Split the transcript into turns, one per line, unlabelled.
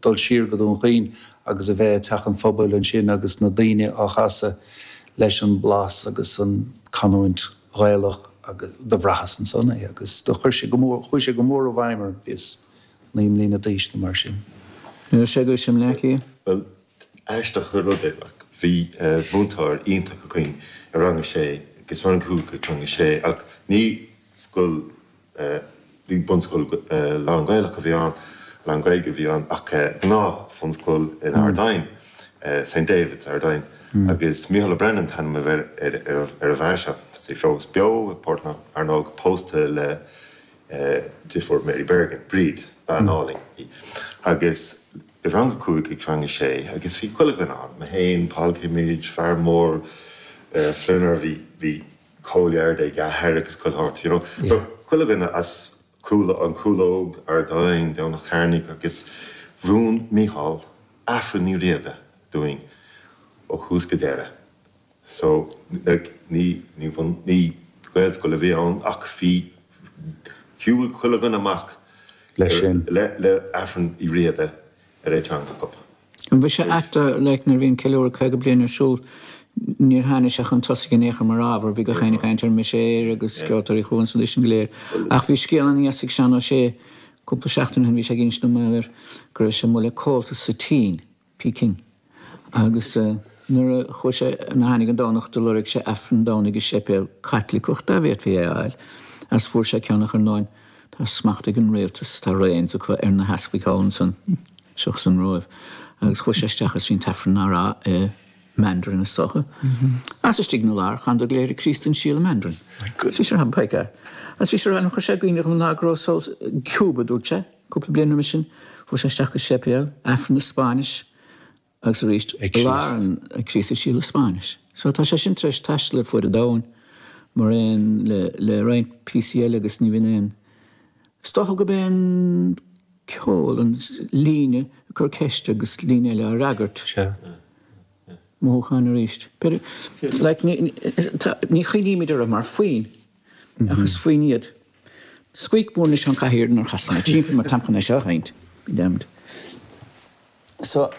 dul siar go Dún Chaoin agus a bheith i dTeach an Phobail ansin agus na daoine á chasadh leis an blas agus an canúint Ghaelach agus do bhraitheas ansan é agus do chuir sé go mór, chuaigh sé go mór i bhfeidhm orm, bhíos 9 mbliana d'aois nó mar sin.
Ní raibh sé agat i mBleá Cliath?
Bhuel, aisteach an rud é, ach bhí múinteoir iontach againn i rang a sé agus rang a cúig agus rang a sé ach ní scoil Ní bunscoil lán-Ghaelach a bhí ann, lán-Ghaeilge a bhí ann ach gnáth-bhunscoil in Ard Fhinn, St David's, Ard Fhinn. Agus Mícheál Ó Braonáin an t-ainm a bhí ar an bhfear seo. Tá sé fós beo i bPort na Fearnóg, pósta le deirfiúr Mary Bergin, Bríd, bean álainn í. Agus i rang a cúig agus rang a sé agus bhí chuile dhuine ann, mé féin, Paul Kimmage, fear mór Flinner, bhí, bhí, Cole ag a athair agus chuile shórt, you know. So, chuile dhuine as Cúl, an Chúlóg, Ard Fhinn, Domhnach Cearnaigh agus mhúin Mícheál Aifreann Uí Riada dúinn ó thús go deireadh. So, like, ní, ní bhun, ní Gaelscoil a bhí ann ach bhí, shiúil chuile dhuine amach
Leis sin.
le, le Aifreann Uí Riada ar a dteanga acu.
An bhfuil sé ait like nuair a bhí an ceiliúradh 50 bliain ar siúl níor tháinig sé chun tosaigh in aon chor mar ábhar, bhí gach éinne ag caint ar Mise Éire agus Ceoltóirí Chuan Sna sin go léir. Ach bhí scéal ana-dheas ag Seán Ó Sé cúpla seachtain ó shin, bhí sé ag insint dom mar gheall air go raibh sé amuigh le Comhaltas sa tSín, Peking, agus nuair a chuaigh sé, nuair a tháinig an Domhnach do lorg sé Aifreann Domhnaigh i séipéal Caitliceach dá bhféadfaí é a fháil agus fuair sé ceann ach ar ndóin tá smacht ag an rialtas, tá reins acu ar na heaspaig thall ansan. Seachas an Róimh. Agus chuaigh sé isteach is bhí an t-aifreann á rá i Mandarin is dócha. Agus istigh ina lár, chan go léir ag Críost an Síol i Mandarin. Bhí sé ar by gar. Agus bhí sé ar chuir sé i gcuimhne dhom an lá go raibh só Cuba, dúirt sé, cúpla bliain roimhe sin, chuaigh sé isteach go séipéal, aifreann i Spáinnis agus arís i lár an Críost an Síol i Spáinnis. So tá sé sin tar éis taisteal ar fuaid an domhain mar aon le le roinnt píosaí eile agus ní bhíonn aon Is dócha gurb é an ceol, an líne ag cur ceiste agus líne eile á fhreagairt.
Sea.
Mothúcháin arís. Like, ní chuimhnímid orthu mar foinn, ach is foinn iad. Squeak mór anois an chathaoir nuair a chasann mé timpeall mar táim chun é seo a sheinnt. Be damned. So.